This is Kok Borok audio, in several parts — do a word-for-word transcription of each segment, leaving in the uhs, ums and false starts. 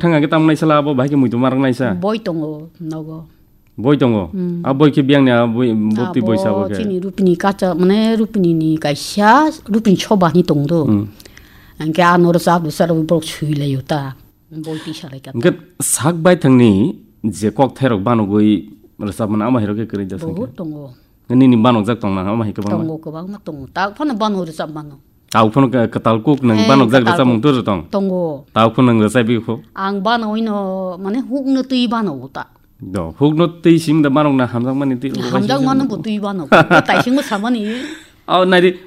Thang hwnkhe tamnai sala abo bahai khe muitu marwk naisa. Boi tongo nogo. Boi tongo. Hmm. A boi khe biyang ni a boi, boti boi sabo khe. Chini Rupini kacha, mane Rupini ni kaisa, Rupini soba ni tong do. Hmm. Hwnkhe ano rwchap rwchap rw borok sui lai o ta. Boi tisa lai ka ta. Hwnkhe sak bai thang ni je kok thai rok banogoi rwchap mano ama hai rok khe kwrwi da song khe. Bohut tongo. Nini banokjak tong na ama hai kwbangma. Tongo, kwbangma tongo. Ta phano bano rwchap mano. Tao phano ka-, kwtal kuk nang Eh, banokjak kwtal rwchapmung kuk. Turo tong. Tongo. Tao phano nang rwchapbi kho. Ang bano ino, mane hukno twi bano uta. Do, hukno twi sing da banok na hamjak mani twi ulo Hamjak bai mano sing bo twi bano. Ko tai sing samani. Aw, nairi,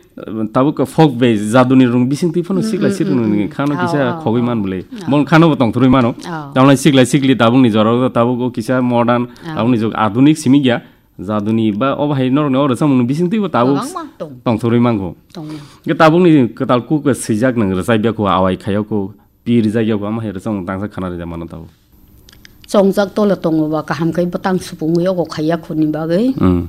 tabuk ka folk be jaduni rung bising twi phano sikla Mm, mm, sirung mm, ni mm. Khano Aw, kisa aw, khogwi aw. Man bole. Aw. Bon khano bo tong thurwi mano. Aw. Tamlai sikla sikli tabuk ni jora tabuk o kisa modern, Aw. Tabuk ni jog adunik simi gya. Jaduni ba obo hai norokni o rwchapmung bising twi bo tabuk Kwbangma tong. Tong thurwi mango. Tong. Ge tabuk ni kwtal kuk swijak nang rwchapya kho awai khayo kho pi rijak ya kho ama hai rwchapmung tangsa khana rwjak mano tabuk. Chongjak tole tongo ba kaham khai bwtang supungwi ogo khaiya khoni bagwi. Mm.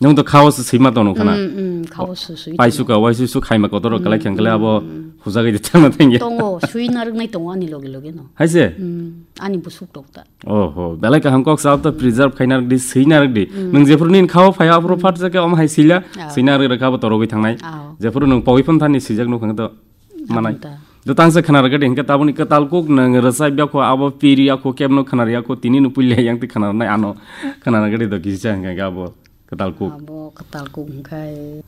Nwng to khao se sima tono khana. Mm, mm, khao se sui Pai tono. Suka wai su su khaima kotoro Mm, kalai khang kale mm, abo mm. Hujagwi de thangna thangya. Tongo, sui narwknai tongo ani loge loge no. Hai se? Mm, ani busuk tok ta. Oho, belai kaham kok sa to preserve khai narwk di, sui narwk di. Mm. Nwng jephuru nin khao phai aphuru Mm. Phat jake om hai sila, Ah. Sui narwk rwkha bo torogwi thangnai. Ah. Jephuru nwng pogwi phon thani sijak nuk hang to manai. Aboni ta. Do tangsa khana rwgadi hingke tabuni kwtal kuk nang rwchapya kho abo piri ya kho kebno khana rwya kho tini no puila yang ti khana rwnai ano khana rwgadi do kisa hingke abo kwtal kuk. Abo kwtal kuk hingkai.